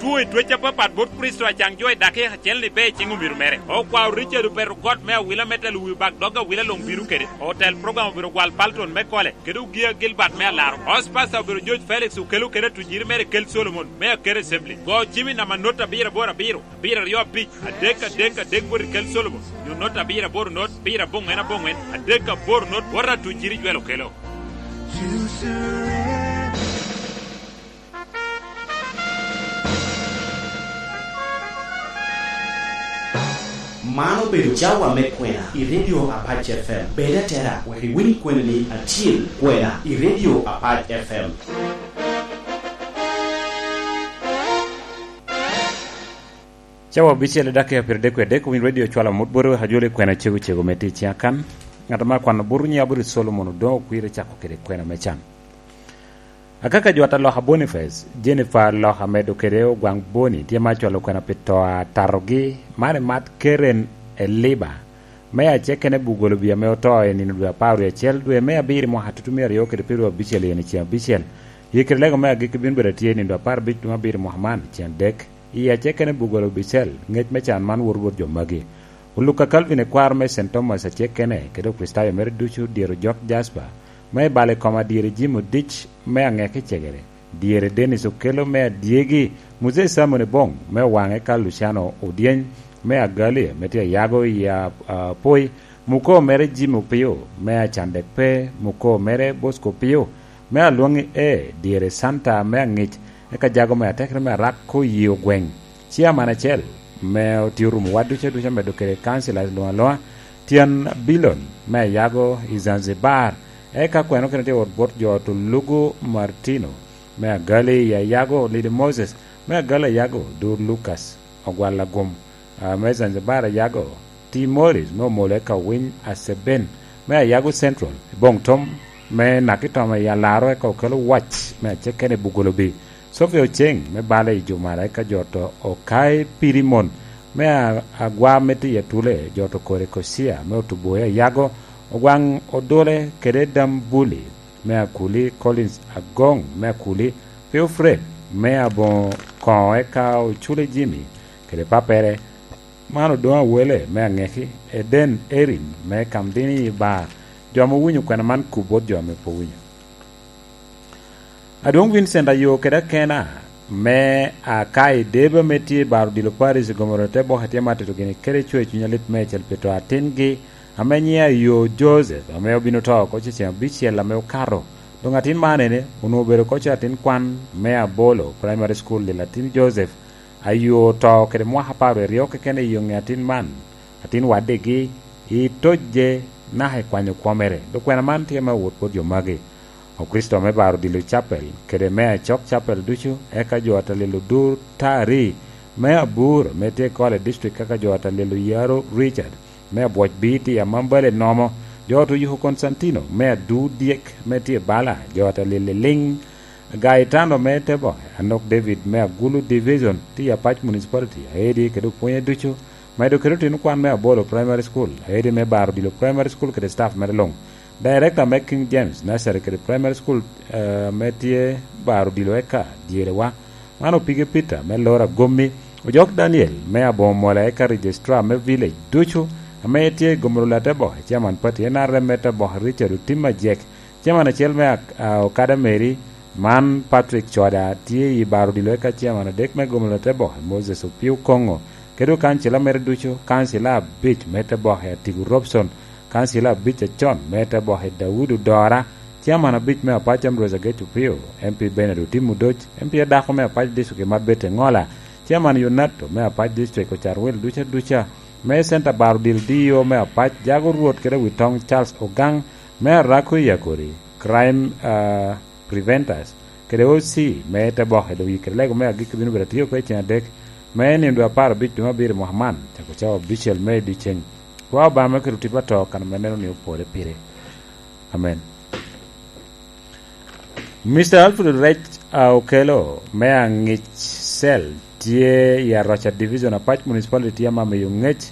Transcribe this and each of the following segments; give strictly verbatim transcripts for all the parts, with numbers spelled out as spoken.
Kuwe twec apapat bot Kricito acaŋ jo i dakika acel ni be i ciŋ omiro mere. Okwao Richard opeto got me awila me telo wi bak dog awila luŋ bino kede. Otel program obiro gwal Palton me kole, kede Ogia Gilbert me alaro. House Pastor obiro George Felix okelo kede atunyiri mere kel Solomon me Akere Assembly. Go cimi nama not abiro aboro abiro, abiro aryo abic, adek adek adek bot i kel Solomon, nyo not abiro aboro not, abiro aboŋwen aboŋwen, adek aboro not, bot atunyiri jwel okelo. Man obedo cawa me kwena i Radio Apac F M. Bed atera wek iwiny kweni ni acil kwena i Radio Apac F M. Cawa abicel i dakika pyeradek wie adek, owiny redio cwalo amut bot wek ajolo i kwena cego cego me tic i akan. Ŋat ame akwano buto nyiŋ Aburi Solomon Odoŋo okwire cako kede kwena me can. Akaka jo ata loka Boniface, Jennifer loka medo kede Ogwaŋ Boni, tye ma acwalo kwena pi to a tatogi, man i mat Karen Eliba, me acekene Bugolobi ame oto i nino dwe apar wie acel dwe me abiro i mwaka tutumia aryo kede pyeraryo abicel i en i ceŋ abicel. Yie kede lego me agikki bino bedo atye i nino dwe apar abic dwe me abiro i mwaka man, ceŋ adek. I acekene Bugolobi cel, ŋec me can man woto bot jo magi. Oluka Calvin ekwaro me Saint Thomas acekene, kede Okricitayo mere ducu, dyero Jok Jasper, me balo i koma dyere Jim Odic me aŋeke cegere, dyere Dennis Okello me adyegi, Muzee Simon Ebong me Owaŋe ka Luciano Odyeny me Agali, me tye ayago i a-, apoi, muko mere Jim Opio me Acandek pe, muko mere Bosco Opio me Alwoŋi e, dyere Santa me Aŋic, eka jago me atekere me Arak ko yi ogweŋ. Ciaman acel me otye orumo wa ducu aduca medo kede kancila luŋ aloŋa, tyen Bilon me Ayago i Zanzibar, eka kweno kene tye wot bot jo to Lugu Martino me Agali i Ayago, Lidi Moses me Agali Ayago, Dur Lucas Ogwal Agum, a, me Zanzibar Ayago, Timoris me Omolo eka Owiny Aseben me Ayago Central, Boŋ Tom me Nakitoma i Alaro eka Okelo Wac me Acekene Bugolobi, Sofia Oceŋ me Bale i Jumara eka jo to Okai Pirimon me a-, Agwa me Tiya Tule, jo to Kore Kocia me Otuboya Ayago, Ogwaŋ Odole kede Dambuli me Akuli, Collins Agoŋ me Akuli, Theofred me Aboŋo Koŋo eka Ocule Jimmy kede pappere, man Odoŋo Awele me Aŋeki, Eden Erin me Kamdini i Bar, jo ame owinyo kwena man kub bot jo ame pe owinyo. Adwoŋ Vincent ayo kede akena me aka i Deba ame tye i Bar Odilo Parish i Gomoro te boke tye ma tito gini kede cwer cuny alit meicel pi to atingi ame nyiŋe ayo Joseph, ame obin oto oko cecen abicel ame okato. Doŋ atin man ene onwoŋo obedo oko atin kwan me Abolo Primary School i Latin Joseph, ayo oto kede mwaka apar wie aryo keken i yoŋe atin man, atin waddigi, i tojje, naka i kwanyo kwo mere. Dok kwena man tye me wot bot jo magi. Okricito me Bar Odilo Chapel, kede me Acok Chapel ducu, eka jo ata lelo Dur Tari me Abur, me tye i Kole District, eka jo ata lelo Yaro Richard, me Abwoc Bii tye i Amambale Nomo, jo ata Yuko Konstantino, me Adu Dyek, me tye i Bala, jo ata lelo Liŋ, Gaetano me Teboke, Anok David me Agulu Division, tye i Apac Municipality, aedi kede opwonye ducu, medo kede otino kwan me Abolo Primary School, aedi me Bar Odilo Primary School kede staff mere luŋ. Director me King James Nursery kede Primary School, eh, ame tye Bar Odilo eka dyerewa. Man Opige Peter me Lora Gommi, Ojok Daniel me Aboŋo Mola eka Registrar me Village ducu, ame tye i Gomolo Lateboke, Chairman Party N R M me Teboke Richard Otim Ajek, Chairman acel me ak-, a, Okada Mary, man Patrick Coda tye i Bar Odilo eka Chairman adek me Gomolo Lateboke Moses Opio Koŋo, kede okancila mere ducu, kancila abic me Teboke Atigo Robson, kancila abic acon me Teboke Daudi Odora, Chairman abic me Apac Ambrose Agec Opio, M P Bernard Otim Odoc, M P adako me Apac District Marbete Ŋola, Chairman Yonato me Apac District Ocarwil duca duca, me Center Bar Odilo D O me Apac Jago Rwot kede Witoŋ Charles Ogaŋ, me Arako i Akori, Crime, ah, Preventers, kede O C me Teboke, doŋ yikere lego me agikki bino bedo atio oko i ceŋ adek, me nino dwe apar abic dwe me abiro i mwaka man, cako cawa abicel me dyeceŋ. Kwa Obaŋa me kelo tipo ato kan ame neno ni opore pire. Amen. Mister Alfred Rec, a, Okelo me Aŋic Cell tye i Aroca Division, Apac Municipality, tye ame amiyo ŋec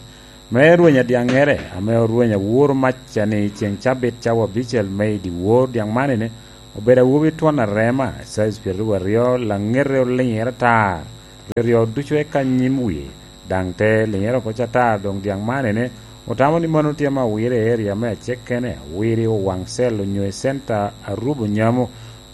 me rweny adyaŋŋere ame orweny awor mac-ca ni ceŋ cabit cawa abicel me i dyewor dyaŋ man ene obedo awobi twon arema, size pyeraryo aryo, laŋete oliŋere atar. ryo ducu eka nyim wie, daŋ te liŋere oko cata. Doŋ dyaŋ man ene, otamo ni mano tye ame owire i eria me acek kene, owiri owaŋ cel onyo i centa arubo nyamo.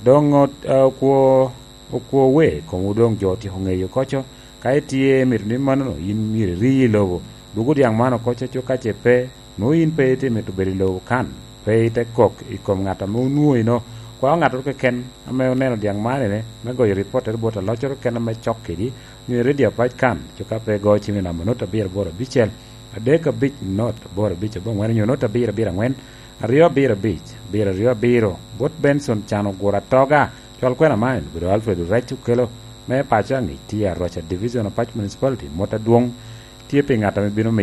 Doŋ ot-, a, okwo, okwo we, komo doŋ jo otyeko ŋeyo koco. Ka itye mito ni manono, in myero iri i lobo. Dwogo dyaŋ man oko coco, ka ce pe, nwoŋo in pe itye mito bedo i lobo kan, pe ite kok i kom ŋat ame onwoŋo ino. Kwao ŋattoro keken ame oneno dyaŋ man ene, me goyo ripottere bot aloccoro keken ame cok kedi, onyo i redio apac kan, co ka pe igo cim i namba not abiro aboro abicel, adek abic not aboro abic aboŋwen, onyo not abiro abiro aŋwen, aryo abiro abic, abiro aryo abiro, bot Benson Can Oguro Atoga. Cwal kwena man obedo Alfred Orec okelo, me paco aŋic tye Aroca Division Apac Municipality, mot adwoŋ tye pi ŋat ame bino miyo